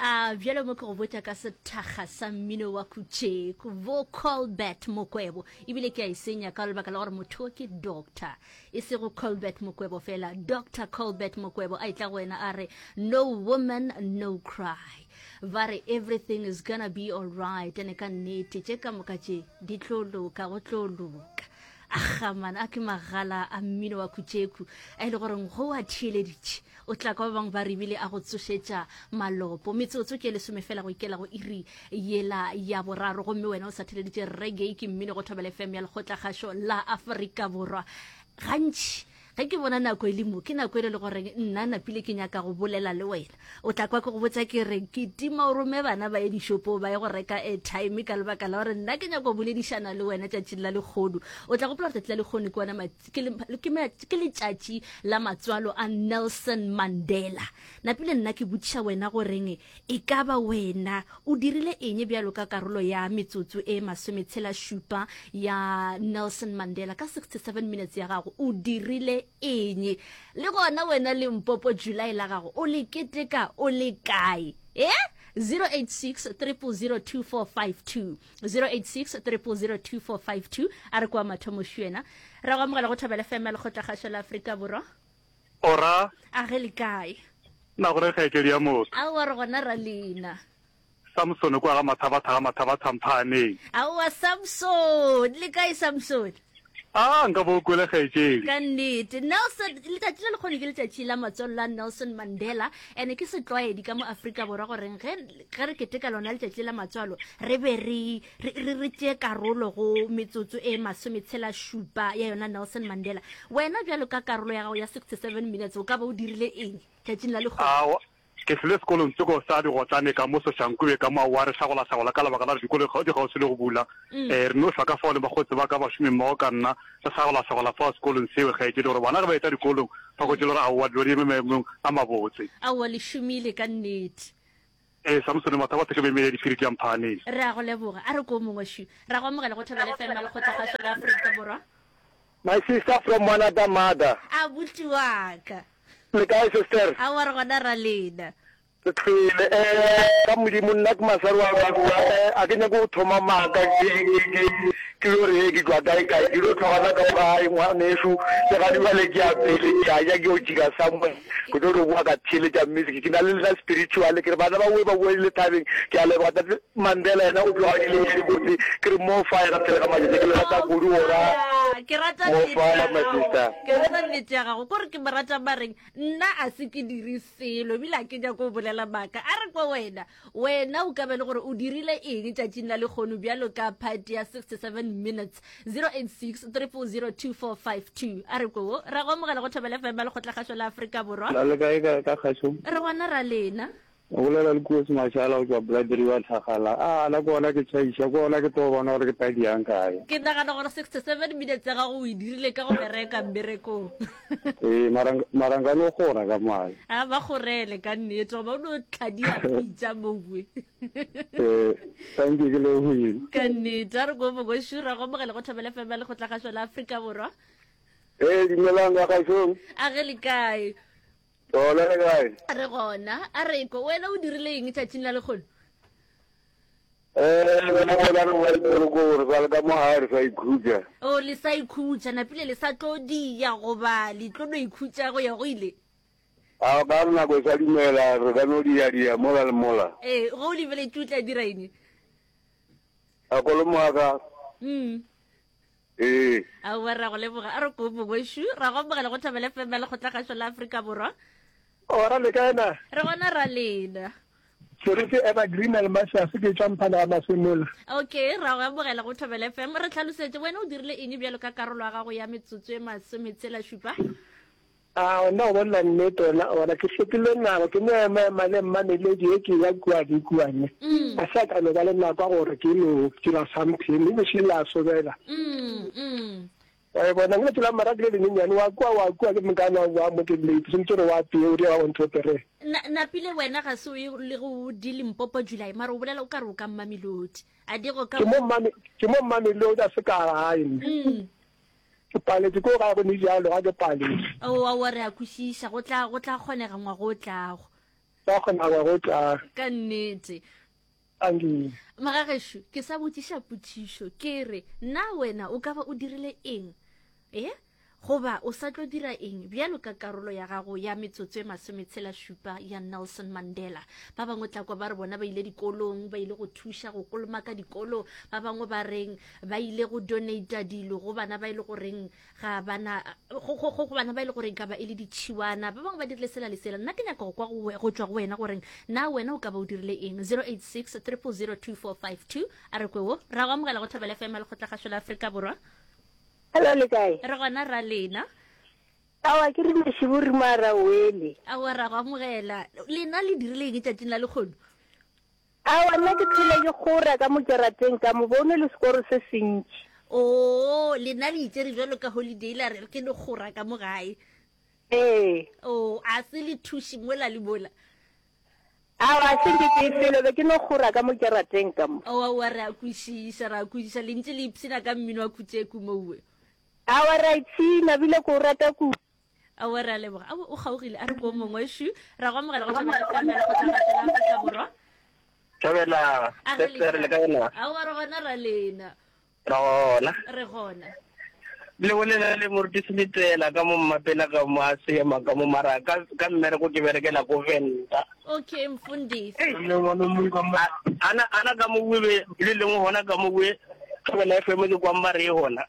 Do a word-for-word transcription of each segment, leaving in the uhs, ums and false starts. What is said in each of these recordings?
A bjalo mo ke go botša ka sethakga sa mmino wa Kutšeko, bo Colbert Mokwebo. Ebile ke a e senya ka lebaka la gore motho ke doctor, e sego Colbert Mokwebo fela, Doctor Colbert Mokwebo a etla go wena a re, No woman, no cry. Ba re everything is gonna be alright, ene ka nnete tše ka moka tše di tlo loka, go tlo loka. Aga man, a ke magala a mmino wa Kutšeku a e le goreng go a theeleditše o tla kwa ba bangwe ba re ebile a go tsošetša malopo. Metsotso ke lesome fela go ikela go iri yela ya boraro, gomme wena o sa theeleditše reggae ke mmino go Thobela F M ya Lekgotlakgašo la Afrika Borwa. Gantši ge ke bona nako e le mo, ke nako e le le goreng nna napile ke nyaka go bolela le wena. O tla kwa ke go botsa ke re ke tima o rome bana ba ye dishopong ba ye go reka airtime ka lebaka la gore nna ke nyaka go boledišana le wena tšatšing la lekgono. O tla gopola gore tšatši la lekgono ke ona ke le, ke ma-, ke letšatši la matswalo a Nelson Mandela. Napile nna ke botšiša wena goreng e ka ba wena o dirile eng bjalo ka karolo ya metsotso e masometshela šupa ya Nelson Mandela ka sixty-seven minutes ya gago, o dirile eng? Le gona wena Limpopo July la gago o le keteka o le kae? Eh? zero eight six triple zero two four five two, zero eight six triple zero two four five two. A re kwa mathomo šuena. Ra go amogela go Thobela F M ya Lekgotlakgašo la Afrika Borwa. Ora. A ge le kae? Na gore kgaetšedi ya motho. Aowa re gona ra lena. Samson kwa ga Mathabatha ga Mathabatha Mphaaneng. Aowa Samson, le kae Samson? A nka bo kwele kgaetšedi. Ka nnete. Nelson, letšatši le lekgono ke letšatši la matswalo la Nelson Mandela, ene ke setlwaedi ka mo Afrika Borwa goreng ge, ge re keteka lona letšatši la matswalo re be re, re, re, re tšee karolo go metsotso e masometshela šupa ya yona Nelson Mandela. Wena bjalo ka karolo ya gago ya sixty-seven minutes o ka ba o dirile eng tšatšing la lekgono? Aowa, ke hlile sekolong tsoko sa digotlane ka mo Soshanguve ka mo aowa re hlagola-hlagola ka lebaka la gore dikolo di kgauswi le go bula. Mm. Eh, re no hlwa ka fao le bakgotsi ba ka bašomi mmogo ka nna re hlagola-hlagola fao sekolong seo kgaetšedi gore bana ge ba etla dikolong ba hwetše le gore aowa dilo di eme maemong a mabotse. Aowa le šomile ka nnete. Ee, Samson Mathabatha ke memele diphiri tša Mphaaneng. Re a go leboga. A re ko mongwe šu. Ra go amogela go Thobela F M ya Lekgotlakgašo la Afrika Borwa. My sister from another mother. Abuti wa ka. Le kae sister? Aowa re gona ra lena. Re tlile eh ka Modimo nna ke masari wa wa eh a ke nyake go thoma maaka ke ke ke ke yo re ke tšwa kae kae ke lo tlogana ka gae ngwanešu le ga dibale ke ya pele ke a ja ke yo jika somewhere ke tlo no boa ka theeletša music ke na le lena spiritual ke re bana ba boe ba boe le thabeng ke a leboga tate Mandela yena o tloga dile tše dibotse ke re more fire pele ga matšatši ke le rata kudu gora Ke rata more nnete fire ya my gago. sister. Ke rata nnete ya gago. Kore ke mo rata mareng nna a se ke dire selo ebile a ke nyako go bolela maaka. A re kwa wena, wena o ka be le gore o dirile eng tšatšing la lekgono bjalo ka party ya sixty-seven minutes zero eight six triple zero two four five two. A re ko wo, ra go amogela go Thobela F M ya Lekgotlakgašo la Afrika Borwa. La le kae ka ka kgašong? Re gona ra lena. O bolela le Koos Mashala go tšwa Blood River Tlhagala. A na ke gona ke tšhaiša, ke gona ke tlo bona gore ke tla diang kae. Ke nagana gore sixty-seven minutes ya gago o e dirile ka go bereka mmerekong. Ee, mara mara nka no kgora ka moae. A ba kgorele ka nnete goba o no tlhadia pitša mowe. Ee, thank you, ke lebogile. Ka nnete, a re ko Mogošu, ra go amogela go Thobela F M ya Lekgotlakgašo la Afrika Borwa. Ee, dumelang ka kgašong. A ge le kae? Gona le kae? Re gona. A re ko, wena o dirile eng tšatšing la lekgono? Eh, wena gona re boa toropong, re sa le ka mo gae re sa ikhutša. O, le sa ikhutša, napile le sa tlo dia goba le tlo no ikhutša go ya go ile? A ka re nako e sa dumela, re ka no dia-dia mola le mola. Ee, ge o lebeletše o tla dira eng? A kolomo wa ka. Mm. Ee. Aowa, ra go leboga. A re ko mongwešu, ra go amogela go Thobela F M ya Lekgotlakgašo la Afrika Borwa. Ora le kae na? Re gona ra lena. Serife Evergreen Almasius ke tšwa Mphana ga Masemola. Okay, ra go amogela go Thobela F M. Re tlhalosetše wena o dirile eng bjalo ka karolo ya gago ya metsotso e masometshela šupa? A nna go bolela nnete ona ona ke hlokile nako ke no ema ema le mmameledi e ke ya kua le kua ne a se a ka no ba le nako ya gore ke no dira something mme bošilo la sobela wa e bona ke la mara ke le lenyenyane wa kua wa kua ke mokana wa boa mo ke late sentse re wa pee o dia wa one two three. Na napile wena ga se o ye le go di Limpopo July mara o bolela o ka re o ka Mmamelodi a di go ka Ke mo Mmame ke mo Mmamelodi a se ka gae nna. Ke paletše ko gae go ne bjalo, ga ke paletše. Aowa, aowa, re a kwešiša. Go tla, go tla kgonega ngwaga o tlago. Ba kgona go go tla. Ka nnete. Angi. Magagešo, ke sa botšiša potšišo, ke re, na wena o ka ba o dirile eng? E? Goba o sa tlo dira eng bjalo ka karolo ya gago ya metsotso e masometshela šupa ya Nelson Mandela? Ba bangwe tla kwa ba re bona ba ile dikolong, ba ile go thuša go kolomaka dikolo, ba bangwe ba reng ba ile go donata dilo go bana ba e le goreng ga bana go go go bana ba e le goreng ka ba e le ditšhiwana, ba bangwe ba dirile sela le sela. Nna ke nyaka go kwa go go tšwa go wena goreng na wena o ka ba o dirile eng. Zero eight six triple zero two four five two. A re kwe wo ra go amogela go Thobela F M ya Lekgotlakgašo la Afrika Borwa. Hello, le kae? Re gona ra lena. Aowa, ke rile šiburi mara wele. Aowa, ra go amogela. Lena le dirile eng tšatšing la lekgono? Aowa, nna ke tlhole ke kgora ka mo kerateng ka mo bone le sekoro se sentši. Oo, lena le itšere bjalo ka holiday la re ke no kgora ka mo gae. Ee. Oo, a se le thuši mola le mola. Aowa, a se nke ke felo, be ke no kgora ka mo kerateng ka mo. Aowa, aowa, re a kwešiša, re a kwešiša. Le ntše le ipshina ka mmino wa Kutšeku mowe. Aowa, re a ipshina, bile ke o rata kudu. Aowa, re a leboga. Aowa, o kgaogile. A re ko mongwe šu. Ra go amogela go Thobela F M ya Lekgotlakgašo la Afrika Borwa. Thobela, A re Sister, le kae na? Aowa, re gona ra lena. Re gona. Re gona. Le bolela le moruti Seletela ka mo mmapela ka mo a seema ka mo mara ka ka mmereko ke berekela ko Venda. Okay, mfundisi. Ana ana ka mo be le lengwe gona ka mo we Thobela F M ke kwa mbare e gona.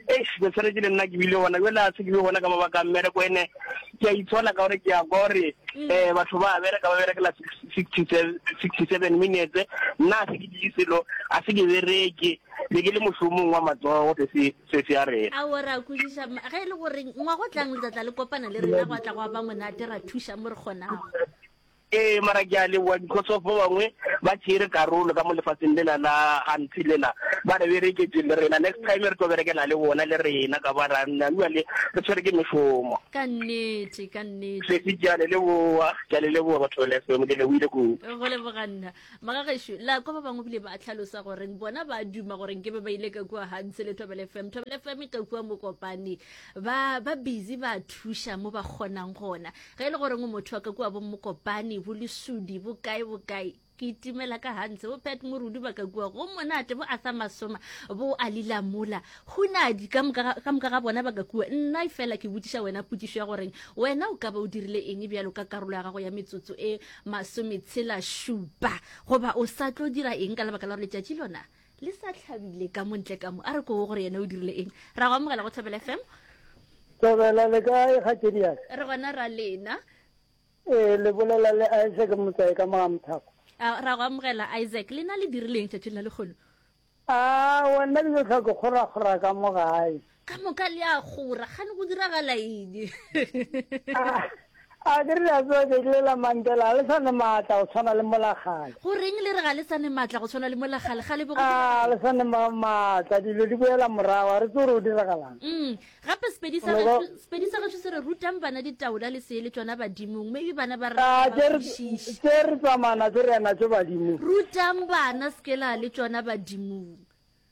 Eish, ke tshwanetse le nna ke bile gona jwale a se ke be gona ka mabaka a mmereko ene ke a itshola ka gore ke a kwa gore eh batho ba bereka ba berekela sixty seven minutes nna a se ke dire selo a se ke bereke be ke le mošomong wa matsogo se se se se a rena. Aowa, re a kwešiša. Ge e le gore ngwago tlang le tla tla le kopana le rena gwa tla gwa ba monate ra thuša mo re kgonago. Ee, mara ke a leboga because of ba bangwe ba tšere karolo ka mo lefatsheng lela la Hunt lela ba re bereketše le rena. Next time re tlo berekela le bona le rena ka ba ra nna bjale re tshwere ke mešomo. Ka nnete, ka nnete. Sesi, ke a le leboga, ke a le leboga batho ba F M, ke lebohile kudu. Go leboga nna. Magagešo, la kwa ba bangwe bile ba tlhalosa gore bona ba duma gore nke be ba ile ka kua Hunt le Thobela F M. Thobela F M ka kua Mokopane. Ba, ba busy ba thuša mo ba kgonang gona. Ge e le gore o motho wa ka kua bo Mokopane, bo Lesudi, bo kae, bo kae, ke itimela ka Hans, bo Pat Morudu ba ka kua, go monate, bo Arthur Masoma, bo Alila Mola, Hunadi, ka moka, ka moka ga bona ba ka kua. Nna fela ke botšiša wena potšišo ya goreng wena o ka ba o dirile eng bjalo ka karolo ya gago ya metsotso e masometshela šupa, goba o sa tlo dira eng ka lebaka la gore letšatši lona le sa hlabile ka montle ka mo. A re ko gore yena o dirile eng. Ra go amogela go Thobela F M. Thobela le kae kgaetšedi ya ka? Re gona ra lena. Ee, le bolela le Isaac Motsae ka mo Mthako. A ra go amogela Isaac, lena le dirileng tšatšing la lekgono? A wena ke tlo ke kgora kgora ka mo gae. Ka moka le a kgora, gane go diragala eng? A ke re a tseba tšatši le la Mandela le sa ne maatla go tshwana le mola kgale. Go reng le re ga le sa ne maatla go tshwana le mola kgale? Kgale bo go A diragala. le sa ne maatla, dilo di boela morago, a re tsebe gore o diragalang. Mm. Gape sepedi sa Lebo- gešo, sepedi sa gešo se re rutang bana ditaola le se le tšona badimong. Maybe bana ba re A, ba tše re- kwešiše. tše re tsamaya natšo re ya natšo badimong. Rutang bana se ke la le tšona badimong.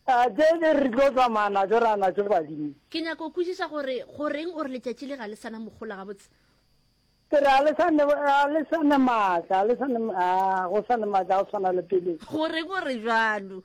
A, tše re tlo tsamaya natšo re ya natšo badimong. Ke nyaka go kwešiša gore goreng o re letšatši le ga le sana mogola gabotse. Ke re, a le sa ne, a le sa ne maatla, a le sa ne, a, go sa ne maatla a go tshwana le pele. Goreng o re jwalo?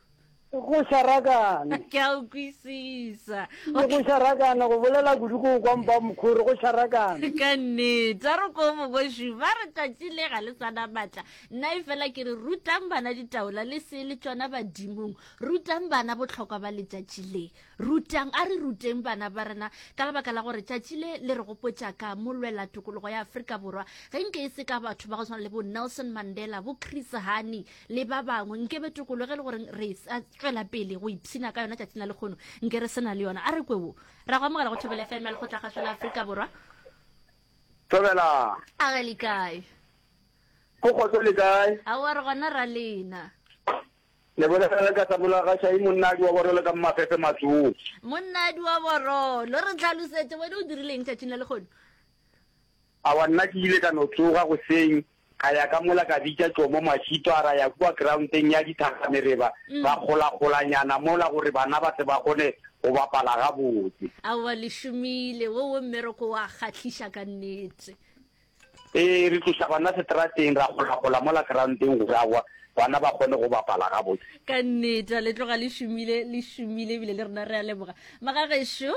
Go šarakane. Ke a o kwisisa. Le go šarakane, go bolela kudu ko kwa mpa mokgoro, go šarakane. Ka nnete, a re ko mogošu, ba re tšatši le ga le sana maatla. Nna e fela ke re rutang bana ditaola le se le tšona badimong. Rutang bana bohlokwa ba letšatši le. Rutang, a re ruteng bana ba rena ka lebaka la gore tšatši le le re gopotša ka molwela tokologo ya Afrika Borwa. Ge nke e se ka batho ba go tshwana le bo Nelson Mandela, bo Chris Hani le ba bangwe, nke be tokologo e le gore re sa tšwela pele go ipshina ka yona tšatšing la lekgono, nke re se na le yona. A re kwe wo. Ra go amogela go Thobela F M ya Lekgotlakgašo la Afrika Borwa. Thobela. A re le kae? Go kgotso le kae? Aowa, re gona ra lena. Le bolela le ka Samola ga Shai, monnadi wa borolo ka Mmafefe Matsong. Monnadi wa borolo, re tlhalosetse wena o dirileng tšatšing la lekgono? Aowa, nna ke ile ka no tsoga goseng, ka ya ka mola ka bitša Tšomo Mašito, a ra ya kua groundeng ya dithagamereba, Mm. ra kgolakgolanyana mola gore bana ba tle ba kgone go bapala gabotse. Aowa, le šomile, wo wo mmereko wa kgahliša ka nnete. Ee, re tloša bana seterateng, ra golagola mola groundeng gore aowa bana ba kgone go bapala gabotse. Ka nnete, le tloga le šomile, le šomile ebile le rena re a leboga. Magagešo,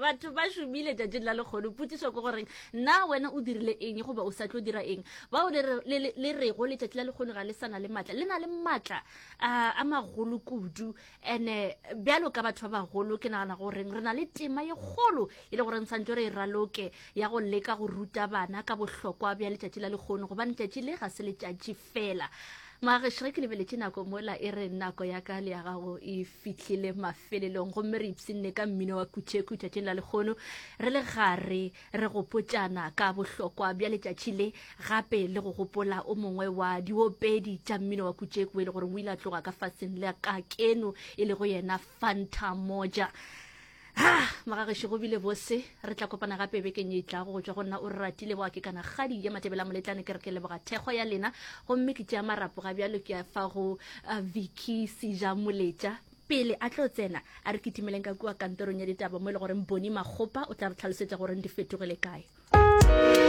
batho ba šomile tšatšing la lekgono. Potšišo ke goreng, na wena o dirile eng goba o sa tlo dira eng? Bao le, le, le, le rego letšatši la lekgono ga le sa na le maatla, le na le maatla a, a magolo kudu. Ene bjalo ka batho ba bagolo, ke nagana goreng re na le tema ye kgolo e le goreng santse re e raloke ya go leka go ruta bana ka bohlokwa bja letšatši la lekgono, gobane letšatši le ga se letšatši fela. Magagešo, ge ke lebeletše nako mola e re nako ya ka le ya gago e fihlile mafelelong, gomme re ipshinne ka mmino wa Kutšeku tšatšing la lekgono, re le gare re gopotšana ka bohlokwa bja letšatši le, gape le go gopola o mongwe wa diopedi tša mmino wa Kutšeku e le gore o ile a tloga ka faseng la ka keno, e lego yena Fanta Moja. Ha, magagešo, go bile bose. Re tla kopana gape bekeng ye e tlago. Go tšwa go nna o re ratile boa ke kana kgadi ya Matebela Moletlane, ke re ke leboga thekgo ya lena, gomme ke tšea marapo ga bjalo ke a fa go uh, Vicky Seja Moletša pele a tlo tsena. A re kitimeleng ka kua kantorong ya ditaba mo e le goreng Boni Makgopa o tla re tlhalosetša goreng di fetogile kae.